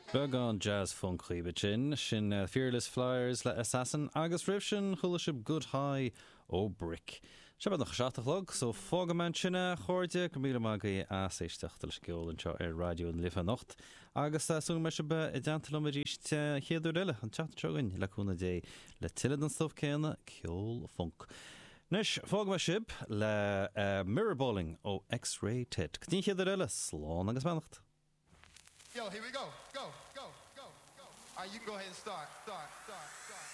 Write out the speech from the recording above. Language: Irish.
Beagán jazz funk dhaoibh ansin, sin Fearless Flyers le Assassin agus roimh sin chuala sibh Good High ó Brick. Sé beagnach a 7 a chlog so fágfaidh mé ansin é a chairde, go raibh míle maith agaibh as éisteacht leis an gceol anseo ar Raidió na Life anocht agus súil go mbeidh sibh i dteannta liom arís an chéad uair eile, an tseachtain seo chugainn, le cúnamh Dé, le tuilleadh den stuif céanna, ceol funk. Anois, fágfaidh mé sibh le Mirror Balling ó X-Ray Ted. Go dtí an chéad uair eile, slán agus beannacht! Yo, here we go. Go, go, go, go. All right, you can go ahead and start. Start, start, start.